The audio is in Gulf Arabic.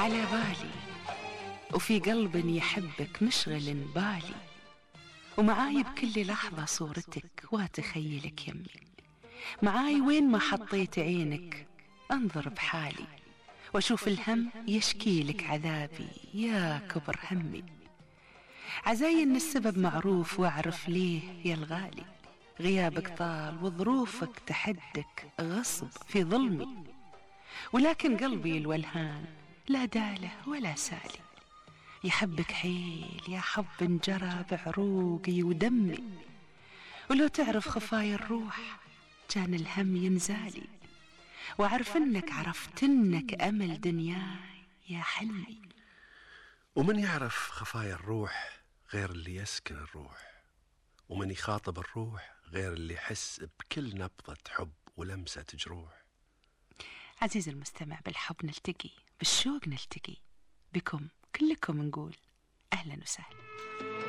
على بالي وفي قلب يحبك مشغل بالي، ومعاي بكل لحظة صورتك واتخيلك يمي، معاي وين ما حطيت عينك انظر بحالي، واشوف الهم يشكيلك عذابي يا كبر همي. عزاي ان السبب معروف واعرف ليه يا الغالي، غيابك طال وظروفك تحدك غصب في ظلمي، ولكن قلبي الولهان لا داله ولا سالي، يحبك حيل يا حب انجرى بعروقي ودمي، ولو تعرف خفايا الروح كان الهم ينزالي، وعرف انك عرفت انك امل دنياي يا حلمي. ومن يعرف خفايا الروح غير اللي يسكن الروح، ومن يخاطب الروح غير اللي يحس بكل نبضة حب ولمسة جروح. عزيزي المستمع، بالحب نلتقي، بالشوق نلتقي، بكم كلكم نقول أهلا وسهلا.